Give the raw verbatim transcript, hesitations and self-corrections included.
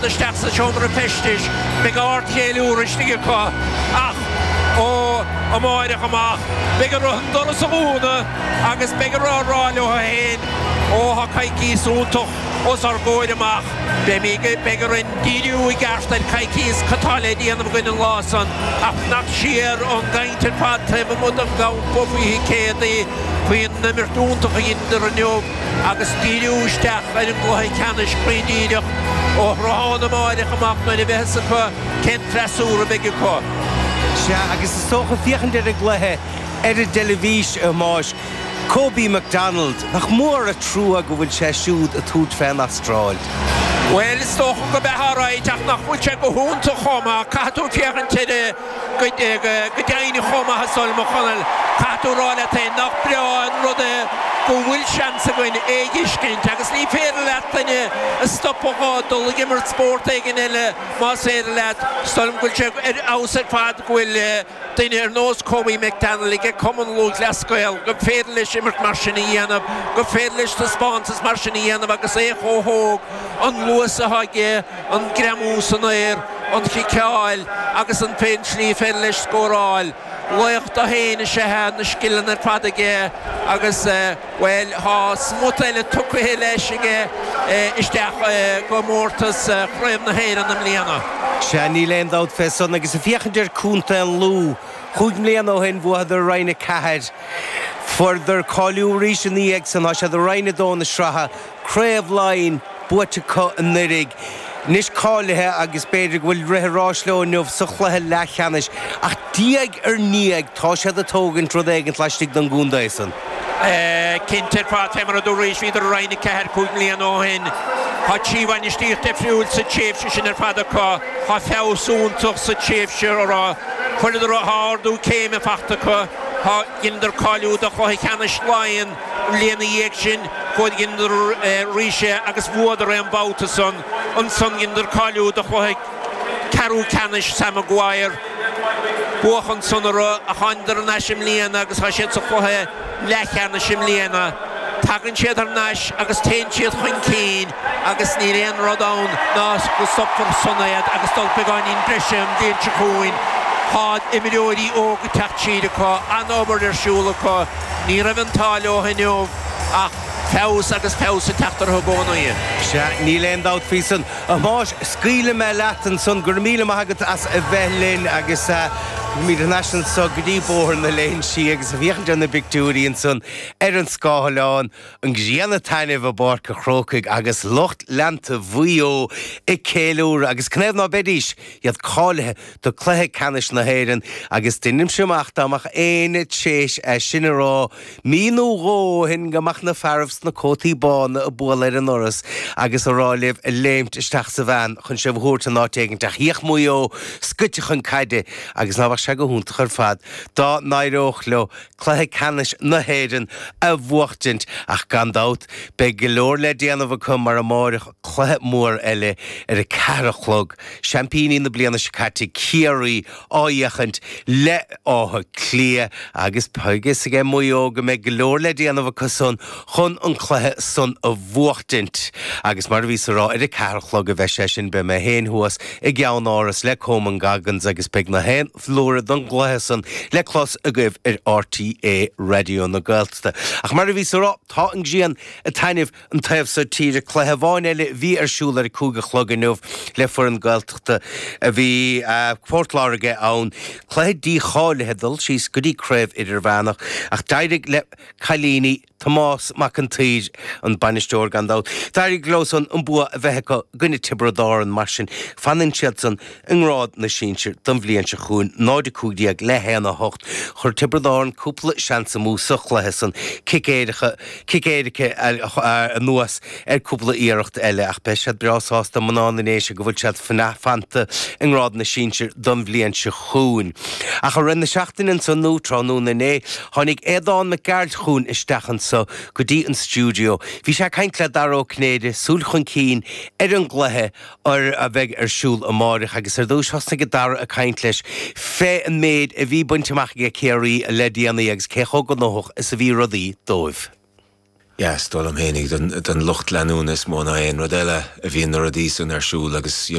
Isteach sa seomra feistis, beidh ardcheiliúradh istigh acu ach ó amárach amach beidh orthu an doras a dhúnadh agus beidh orthu a rá leo féin, Ó, tá coicíos iontach os ár gcomhair amach, beimid, beidh orainn díriú i gceart ar coicíos cad tá le déanamh againn an lá san ach fanacht siar ón gcaint ar fad taobh amuigh den gcampa faoi thicéadaí, faoin imirt iontach a dheineadar inniu agus díriú isteach ar an gcluiche ceannais cruinn díreach ó thráthnóna amáireach amach nuair a bheidh fhios acu cén freasúra a bheidh acu. Sea, agus is dócha féachaint ar an gcluiche ar an dteilifís, a Thomáis, Kobe McDonald, nach mór an trua go bhfuil sé siúd ag tabhairt fén Astráil. Bhuel, is dócha go mbeadh alright ach nach bhfuil sé go hiontach chomh maith, caithfidh tú féachaint air go deimhin chomh maith is dóigh liom, a Chonaill. Caithfidh tú a rá leat féin nach breá an rud é go bhfuil seans againn é a fheiscint agus ní féidir leat duine a stopadh dhó dul ag imirt spórt éigin eile más féidir leat. Is dóigh liom go bhfuil sé ar fheabhas ar fad go bhfuil duine ar nós Kobe McDonald ag Cumann Lúthchleas Gael, go féidir leis imirt mar sin a dhéanamh, go féidir leis taispeántas mar sin a dhéanamh agus é chomh hóg, an luas atá aige, an greamú san aer, an chiceáil agus an fén tslí féidir leis scóráil. Laoch dó féin is ea é, na scileanna ar fad aige agus, bhuel, tá smut eile tugtha leis aige isteach i gcomórtas Chraobh na hÉireann i mbliana. Sea, níl aon dabht fé san agus ag féachaint ar Contae an Lú, chúig mbliana ó shin bhuadar Roinn a Ceathair. Fuaireadar cáiliú arís ina dhiaidh san, tá siad i Roinn a Dó na sraithe, Craobh Laighean buaite acu anuraidh. Anois cáilithe agus b'fhéidir go bhfuil rith an ráis leo inniu sa chluiche leathcheannais ach diaidh ar ndiaidh tá siad ag tógaint rud éigint laistigh den gcontae san. Cinnte ar fad, fé mar a dúraís, bhíodar i Roinn a Ceathair cúig mbliana ó shin. Tá trí bhainistíocht difriúil sa tréimhse sin ar fad acu. Tá feabhas iontach sa tréimhse a raibh. Fuaireadar tá ardú céime fachta acu. Tá dheineadar cáiliú do chluiche ceannais Laighean an bhliain ina dhiaidh sin. Chuaigh dheineadar arís é agus bhuadar é an babhta san. Ansan dheineadar cáiliú do chluiche ceathrú ceannais Sam Maguire. Buadh ansan orthu ach thánadar thar n-ais i mbliana agus tá siad sa chluiche leathcheannais i mbliana. Tagann siad thar n-ais agus téann siad chun cinn agus níl aon rud ann ná go stopfar san iad agus dul beagáinín breise an bhliain seo chugainn. Tá imreoirí óga ag teacht siar acu, an-obair ar siúl acu. Ní raibh an t-ádh leo inniu ach feabhas agus feabhas ag teacht orthu i gcónaí. Sea, níl aon dabht faoi san. A Thomáis, scaoilfidh mé leat ansan. Go raibh míle maith agat as a bheith linn agus táimid thar n-ais anso go dtí Bóthar na Léinsí agus ag féachaint ar na bpictiúirí ansan ar an scáileán, an ghrian ag taitneamh i bPáirc an Chrócaigh agus lucht leanta Mhaigh Eo ag ceiliúradh agus canathaobh ná beidís, iad cáilithe do cluiche ceannais na hÉireann agus deinimse amach dá mbeadh éinne tréis é sin a rá mí nó dhó ó shin go mbeadh na fearaibh sna cótaí bána ag bualadh ar an ndoras agus a rá libh léimt isteach sa veain chun sibh a thabhairt in áit éigint ach shuíodh Maigh Eo scoite chun caide agus ná beadh sé go hiontach ar fad dá n-éireodh leo cluiche ceannais na hÉireann a bhuachtaint ach gan dabht beidh go leor le déanamh acu mar amáireach cluiche mór eile ar a ceathair a chlog, seaimpíní na bliana seo caite Ciarraí á fhéachaint le Áth Cliath agus beidh fhios aige Maigh Eo go mbeidh go leor le déanamh acu san chun an cluiche san a bhuachtaint agus mar a bhíos a rá ar a ceathair a chlog a bheidh sé sin beidh mé féin thuas i gCeann-Áras le Coman Goggins agus beidh na haon phlúr don gcluiche san le clos agaibh ar RTÉ Raidió na Gaeltachta. Ach mar a bhíos a rá tá an ghrian ag taitneamh an taobh so tíre. Cluiche amháin eile a bhí ar siúl ar a cúig a chlog inniu le foireann Gaeltachta a bhí Port Láirge ann. Cluiche dícháilithe dul síos go dtí Craobh Idirmheánach ach d'éirigh le cailíní Tomás Mac an tSaoir, an bainisteoir gan dabht. D'éirigh leo san an bua a bheith acu i gcoinne Tiobraid Árann mar sin fanann siad san i ngrád na sinsir don bhliain seo chugainn, náid a cúig déag le haon a hocht. Chuir Tiobraid Árann cúpla seans amú sa chluiche san, cic éirice, cic éirice anuas ar cúpla iarracht eile ach beidh siad breá sásta mná na nDéise go bhfuil siad fanta i ngrád na sinsir don bhliain seo chugainn. Ach i rith na seachtaine ansan nó tráthnóna inné tháinig Aodán Mac Gearailt chugainn isteach anso go dtí an stiúideo. Bhí sé ag caint le Dara Ó Cinnéide, súil chun cinn ar an gcluiche ar a bheidh ar siúl amáireach agus ar dtúis thosnaigh Dara ag caint leis fé an méid a bhí bainte amach aige Ciarraí le déanaí agus cé chomh gnóthach is a bhí rudaí dóibh. Yeah, is dóigh liom féinig don, don lucht leanúna is mó ná aon rud eile a bhíonn na rudaí san ar siúl agus you